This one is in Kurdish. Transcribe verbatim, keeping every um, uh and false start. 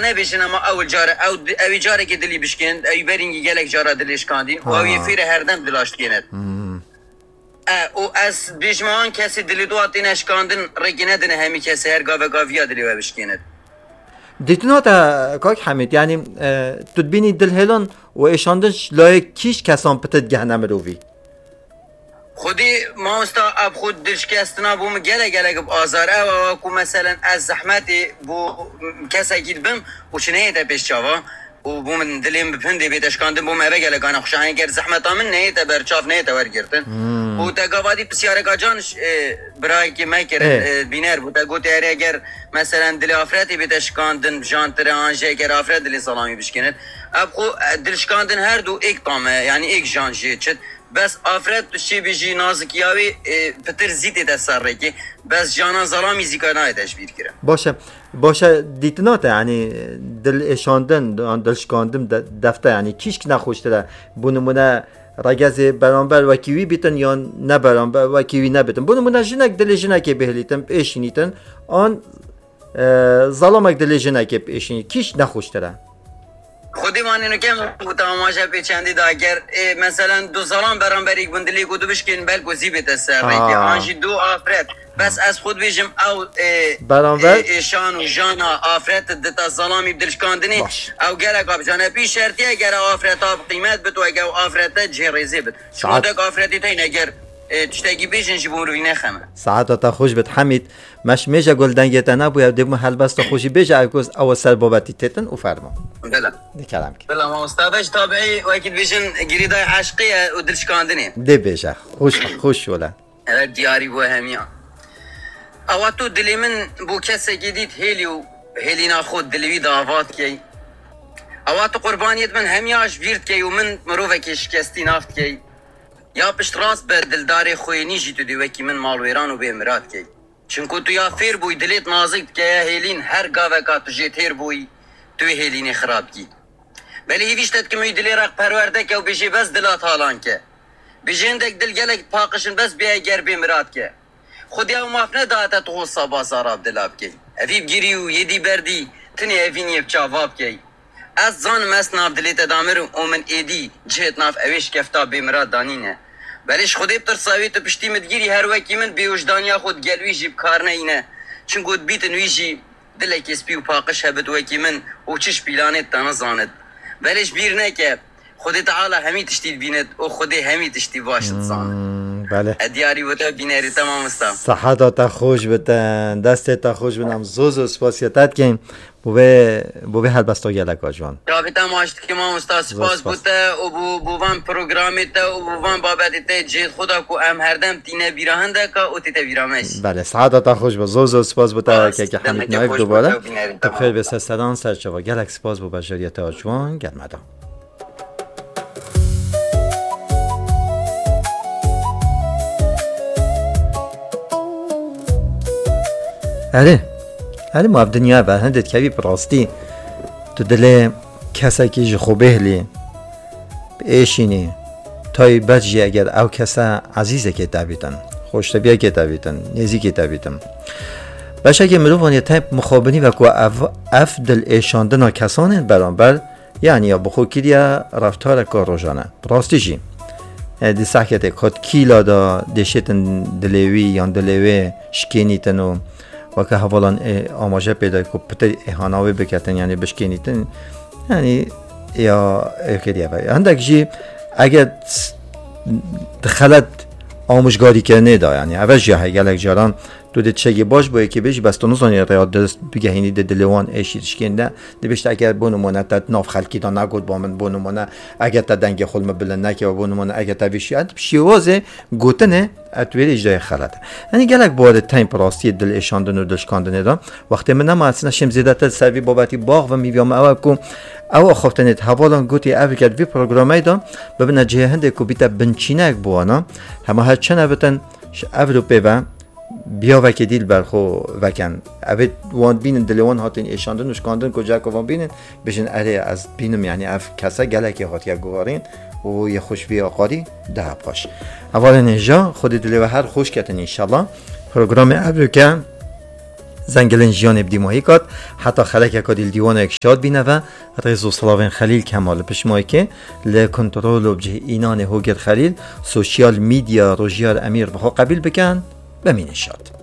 nebêjin, ama ew cara, ew, ew carekê dilî bişkên, ew berîngî gelek cara dilê şkandîn, û ew yê Ha. fêre herdem dila şkênet. Hmm. E, û ez bêjim, an kesê dilê dua têne şkandin, rêkê nedine hemî kesê her gaveka viya dilê we bişkênet. Dîtina te, kak Hemîd, yanî, e, tu dibînî dilhêlan û êşandin ji layê kîj kesan pitir digehne mirovî? Xwedî mamosta, ev xwe dilşikestina bo min gelek gelek bi azar. Ew, ew ku meselen ez zehmetê bo kesekî dibim û çi neyête pêş çava û bo min dilê min bi pindê bête şikandin, bo min eve gelek ana xweş e. Eger zehmeta min neyête ber çav, neyête wergirtin. Hmm. Û te gavadî pisyareka can, e, birayekê me kirin, Ê. e, bîner bû. Te gotê erê eger meselen dilê afretê bête şikandin, jantire an jî eger afret dilê zelamî bişkênit. Ev xwe, e, dilşikandin her du êk tam e, yanî êk jan jê çit. Bes afret tu şê bêjî nazikiya wê, e, pitir zî tête ser rêkê. Bes jana zelamî zî ka nayête ji bîr kirin. Baş e. Baş e, dîtina te, yanî dil êşandin, yan dilşikandin de, defte, yanî kîşk nexweştir e. Bo nimûne regezê beramber wekî wî bîtin yan ne beramber wekî wî nebîtin. Bo nimûne jinek dilê jinekê bihilîtin, biêşînîtin, an, e, zalamek dilê jinekê biêşînî, kîşk nexweştir e. Xwedî manî nuke min bû tamaşa pê çendî da ger, e, meselen du zalam beramberî bûn dilê ku du bişkên belku zî bête ser rêkê. Ha. An jî du afret. Bes ez xwe dibêjim ew, e, Beramber? e, êşan û jana afret dita zalamî dilşkandinê. Baş. Ew gelek abijane pî şertiye gere afreta bi qîmet bit û ege ew afrete cihê rêzê bit. Saet. Şotek afretî teyne ger, e, tiştekî bêjin ji bo mirovî nexeme. Saeta te xweş bit Hemîd. Meş mêje gul dengê te nebûye, dê bû helbesta xwe jî bêje, ew ku ew ser babetî têtin û fermo. Bila. Dî kerem ki. Bila mamosta, beş tabiî wekî dibêjin girîdayê eşqê ye û dilşikandinê. Dê bêje. Xweş, xweş wele. Evet, diyarî bû hemiya. Ewa tu dilê min bû kesekî dît hêlî û hêlîna xwe dilê wî davat key. Ewa tu qurbaniyêt min hemiya ji bîr dikey û min mirovekê şikestî nav dikey. Ya piştrast be dildarê xwênî jî tu dê wekî min malwêran û bê mirad key. Çinku tu ya fêr bûyî dilêt nazik dike ya hêlîn her gaveka tu jê têr bûyî tu wê hêlînê xirab kî. Belê hêvîşte dikim wî dilê reqperwerde ke û bêjê bes dila talan ke. Bêjê hindek dil gelek paqij in bes bêye ger bê mirad ke. Xwedî ew maf nedate tu xwe saba zara bi dila bikey. Evî bigirî û yêdî berdî tinê evîniyê bi çava bikey. Ez zanim ez nav dilê te damir û min êdî cihêt nav ewê şikefta bêmirad danîne. Belê ji Xwedê bitirsa wê tu piştî min digirî her wekî min bêwijdaniya xwe digel wî jî bi kar neyîne. Çinku dibîtin wî jî dilekê spî û paqij hebit wekî min û çi ji pîlanê te nizanit. Belê ji bîr neke, Xwedê Teala hemî tiştî dibînit û Xwedê hemî tiştî baş dizanit. Hmm, belê. E diyarî bo te bînerî te mamosta. Seheta te xweş bite, destê te xweş bin, em zor zor spasiya te dikin. Bo vê, bo vê helbesta geleka ciwan. Çavê te maç dike mamosta, spas bo te û bo, bo van programê te û bo van babetê te cihêt xwe da ku em herdem tîne bîra hindeka û tête bîra me jî. Belê, saeta te xweş be. Zor zor spas bo te keke Hemîd Naif dubare. Tu bi xêr bê ser sedan ser çava. Gelek spas bo bejeriya te ciwan, gel me da. Erê, erê ma ev dinya ve hindê dikevî bi rastî tu dilê kesekî ji xwe bêhlî, biêşînî, taybet jî eger ew kese ezîzekê te bîtin, xoştebiyekê te bîtin, nêzîkê te bîtin. Beşekê mirovan yê teyp mixabinî ve ku ev, ev dil êşandina kesanên beramber Yanî ya bi xwe kiriye reftareka rojane. Bi rastî jî, e, di sehketê kot kîla de dêşêtin dilê wî yan dilê wê şikênîtin û weke hevalan, e, amaje pê de ku pitir êhana wê biketin, yanî bişkênîtin, yanî ya ê kiriye ve. Hindek jî eger s-, di xelet amûjgarîkirinê de, yanî eve jî heye gelek caran Tu dê tiştekî baş bo yekê bêjî, bes tu nizanî rêya dirist bigehînî di dilê wan êşî dişkên de. Dibêjte eger bo nimûne te nav xelkî de negot ba min, bo nimûne eger te dengê xwe li min bilind nekeve, bo nimûne eger te vî şî-, şêwazê gotinê, e, tu wêrê jî de xelet e. Yanî gelek bi warê teyp rastiyê dil êşandin û dil şikandinê de. Wextê min nema, ez neşêm zêdetir ser vî babetî baxvim, hîviya min ew e ku ew axaftinê di hevalan gotî ev ket vî programê de bibine cihê hindê ku bîte binçînek bo wana. Hema her çi nebitin, ji ev ro pê ve biyavekê dî li ber xwe veken. Evê wan bînin, dilê wan hatin êşandin û şikandin, ku ciheka wan bînin, bêjin, erê, ez bînim, yanî ev kese gelekê hatiye guherîn û yê xwe ji vê aqarî daha paş. Hevalên hêja, Xwedê dilê we her xweş ketin înşallah. Programê evroke Zengilên jiyanê bi dîmahî kat, heta xelekeka dîl dîwaneke şad bîne ve, rêz û silavên Xelîl Kemal li pişt mayikê li kontrol û bi cih înanê Hogir Xelîl, sosyal medya Rojiyar Emîr bi xwe qebîl bikin, bimînin şad.